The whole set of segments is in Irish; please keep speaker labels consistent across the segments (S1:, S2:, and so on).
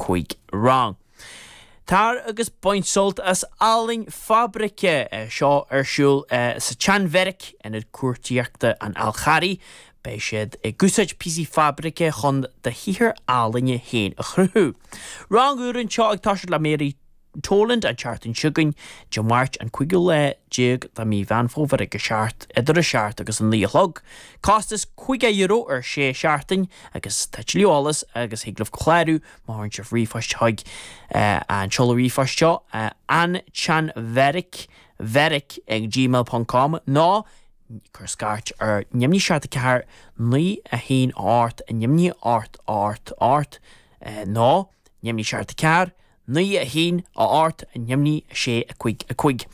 S1: 5 rang. Tar agus bain sult as ealaín fabraice, seo ar siúl sa tSeanbheairic, Ionad Cuartaíochta an Fháil Charraigh. Beidh siad ag úsáid píosaí fabraice chun do shaothar ealaíne féin a chruthú. Rang úr anseo ag toiseacht le Mary Toland an tseachtain seo chugainn, Dé Máirt an cúigiú lá déag de mhí Mheán Fómhair ag a seacht, idir a seacht agus a naoi a chlog. Costas €50 ar sé seachtain agus tá tuilleadh eolas agus thig libh clárú má chuireann sibh ríomhphost chuig an seoladh ríomhphoist seo, antseanbheairic bheairic ag gmail ponc com nó cuir scairt ar neamhní 7 4 9 1 8 neamhní 8 8 8 nó neamhní 7 4 9 1 8 neamhní 6 5 5.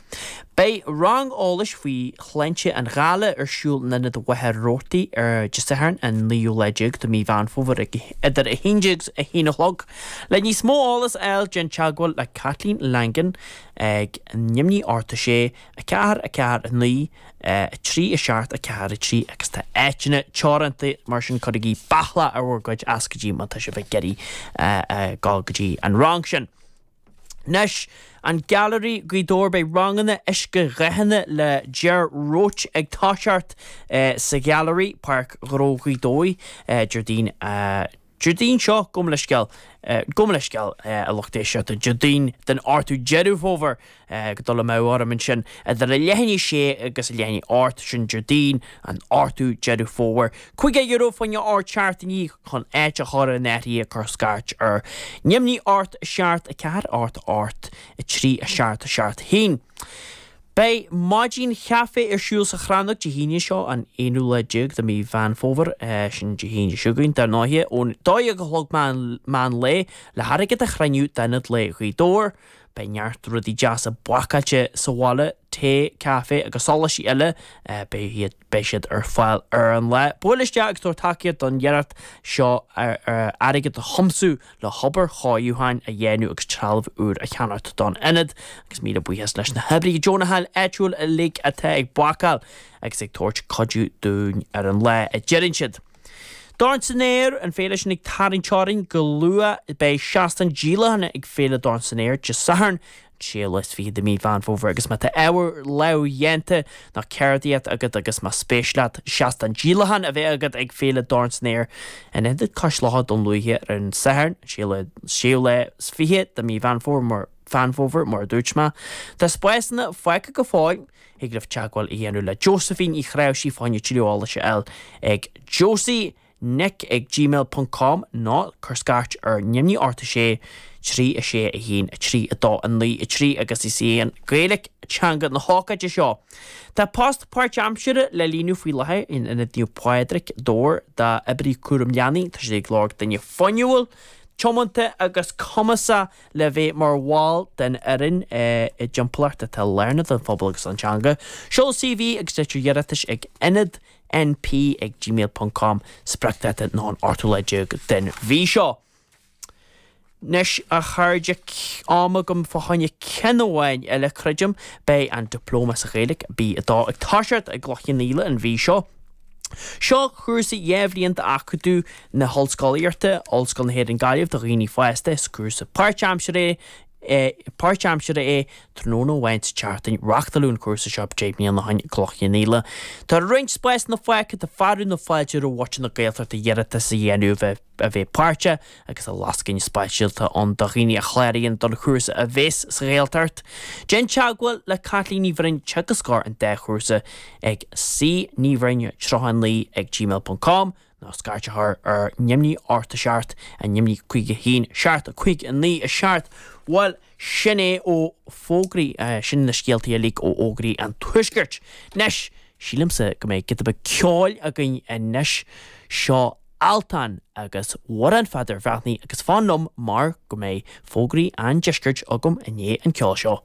S1: Beidh rang eolais faoi shláinte an ghála ar siúl in Ionad Mhachaire Rabhartaigh ar Dé Sathairn an naoú lá déag de mhí Mheán Fómhair ag idir 11 agus 1 a chlog. Le níos mó eolas a fháil déan teagmháil le Caitlín Langan ag neamhní 8 6 4 4 9 3 7 4 3 agus tá áiteanna teoranta mar sin cuirigí beathlach ar bhur gcuid iascaidí má tá sibh ag iarraidh dul go dtí an rang sin. Anois, an Gailearaí Gaoth Dobhair, beidh ranganna uiscedhathanna le Ger Roche ag toiseacht sa Ghailearaí, Páirc Ghnó Ghaoth Dobhair, Déardaoin, Déardaoin seo, gabh mo leithscéal, gabh mo leithscéal, a lucht éisteachta, Déardaoin den 8ú Deireadh Fómhair, ag dul amú orm ansin, idir a leath i ndiaidh a sé agus a leath i ndiaidh a hocht, sin Déardaoin an 8ú Deireadh Fómhair. €50 fá choinne 8 seachtainí chun áit a chur in áirithe cuir scairt ar neamhní 8 7 4 8 8 3 7 7 1. Beidh maidin chaife ar siúl sa Chrannóg Dé hAoine seo, an aonú lá déag de mhí Mheán Fómhair, sin Dé hAoine seo chugainn, dar ndóighe, ón 12 a chlog meán lae, le hairgead a chruinniú d'Ionad Lae Ghaoth Dobhair. Beidh neart rudaí deasa bácáilte sa bhaile, tae, caife agus sóláistí eile, beidh beidh siad ar fáil ar an lá. Buail isteach agus tabhair tacaíocht don iarracht seo airgead a thiomsú le hobair chóiriúcháin a dhéanamh agus trealamh úr a cheannacht don ionad. Agus míle buíochas leis na hoibrithe deonacha áitiúil uilig atá ag bácáil agus ag tabhairt cuidiú dúinn ar an lá, a deireann siad. Dorn san Aer, an féile sin ag tarraingt orainn go luath. Beidh seastán díolacháin ag Féile Dorn san Aer Dé Sathairn, an séú lá is fiche de mhí Mheán Fómhair agus má tá ábhar lámhdhéanta nó ceardaíocht agat agus más spéis leat seastán díolacháin a bheith agat ag Féile Dorn san Aer in Ionad Cois Locha Dún Lúiche ar an Satharn, an séú lá is fiche de mhí Mheán Fómhair, Mheán Fómhair mar a dúirt mé. Tá spásanna fágtha go fóill. Thig libh teagmháil a dhéanamh le Josephine Uí Chnáimhsí fá choinne tuilleadh eolais a fháil ag josie nic ag gmail ponc com nó cuir scairt ar neamhní 8 6 3 6 1 3 2 9 3 agus is í an Ghaeilge teanga na hócáide seo. Tá post páirtaimseartha le líonadh faoi láthair in Ionad Naomh Pádraig, Dobhar, d'oibrí cúram leanaí. Tá siad ag lorg duine fuinniúil, tiomanta agus cumasach le bheith mar bhall den fhoireann i dtimpeallacht atá lárnach don phobal agus don teanga. Seol CV agus litir iarratais ag ionad np ag gmail ponc com Spriocdháta ná an 8ú lá déag den mhí seo. Anois, a chairde, am agam fá choinne ceann amháin eile, creidim. Beidh an Dioplóma sa Ghaeilge, B2, ag toiseacht i gCloich Cheann Fhaola an mhí seo. Seo cúrsa 2 bhliain d'Acadamh na hOllscolaíochta, Ollscoil na hÉireann Gaillimh, do dhaoine fásta. Is cúrsa páirtaimseartha é páirtaimseartha é, tráthnóna amháin sa tseachtain. Reáchtáladh an cúrsa seo 10 mbliana ó shin i gCloich Cheann Fhaola. Tá roinnt spásanna fágtha, tá fearadh na fáilte roimh mhuintir na Gaeltachta iarratas a dhéanamh a bheith a bheith páirteach agus tá lascaine speisialta ann do dhaoine a chláraíonn don chúrsa a bheas sa Ghaeltacht. Déan teagmháil le Caitlín Ní Bhroin, teagascóir an dá chúrsa, ag cnibhroin39 ag gmail ponc com nó scairt a chur ar neamhní 8 7 neamhní 5 1 7 5 9 7. Bhuel, sin é ó fógraí, sin na scéaltaí uilig ó fhógraí an Tuaiscirt. Anois, sílimse go mbeidh giota beag ceoil againn anois. Seo Altan agus Amhrán Pheadair Bhreathnaigh agus fan liom mar go mbeidh fógraí an Deiscirt agam i ndiaidh an ceoil seo.